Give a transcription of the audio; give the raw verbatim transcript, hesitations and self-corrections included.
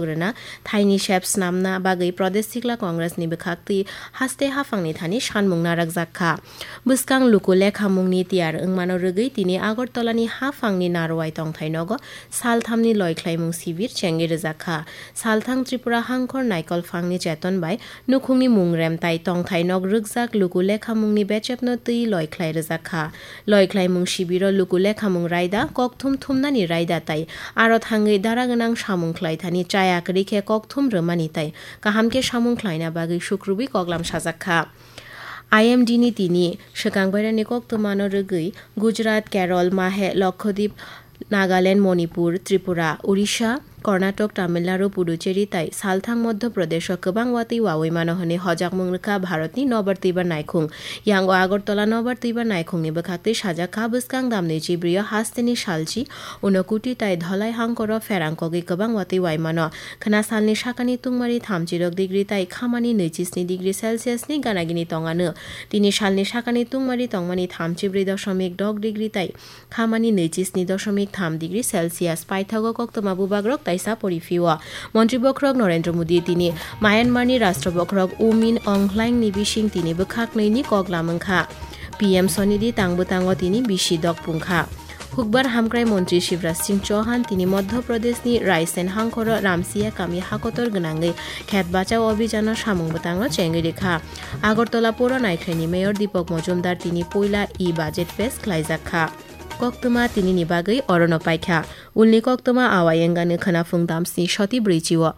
rwna thaini sep snamna bagwi Pradesh Sikla Congress ni bwkhaktwi haste haphangni thani sanmung narwkjak kha. Bwskang luku lekhamungni tiyar wngmano rwgwi tini Agartala ni haphangni Narwai tongthai nogo salthamni loikhlaimung sibir chengwi rwjak kha. Salthang Tripura Hangkhor Naikolphangni cheton bai nukhungni mungrem tai tongthai nok rwkjak luku lekhamungni bechepno twi loikhlai rwjak kha. Loikhlaimung sibiro luku lekhamung raida, kokthum thumnani raida tai aro thangwi dara gwnang samung khlaithani chaya kwrwi khe kokthum rwmani tai kaham khe samung khlaina bagwi sukrubwi koklam sajak kha. I M D ni tini swkang bairani koktwmano rwgwi Gujarat, Kerala, Mahe, Lakshadweep, Nagaland, Manipur, Tripura, Odisha, Karnataka, Tamil Nadu, Puducherry tai salthang Madhya Pradesh o kwbang watwi wawi mano hwnwi hojakmung rwkha Bharatni nobar twibar naikhung. Yango Agartala nobar twibar naikhungni bwkhaktwi sajak kha bwskang damni chibrio hasteni salchi Unakoti tai Dhalai hangkoro pherang kogwi kwbang watwi wai mano. Khwna salni sakani tungmari thamchi rok degree tai khamani nwichi sni degree Celsius ni ganagini tongano. Tini salni sakani tungmari tongmani thamchi brwi dosomik dok degree tai khamani nwichi sni dosomik tham degree Celsius. Paithago koktwma bubagrok taisa poriphio. Montri bokhorok Narendra Modi tini Myanmar ni Rashtra bokhorok U Min Aung Hlaing ni bising tini bwkhak nwi ni kok lamwng kha. P M Sonidhi tang bwtango tini bisi dok pung kha. Hukbar hamkrai montri Shivraj Singh Chauhan tini Madhya Pradesh ni Raisen hangkhoro Ramsiya kami hakotor gwnangwi khet bachao abhijano samung bwtango chengwi rikha. Agartala Pura Naikhlai ni Mayor Deepak Majumdar tini puila e-budget pes khlaijak kha. Koktwma tinini bagwi orono paikha. Ulni koktwma awai wngani khwnaphung damsni soti brwichi o.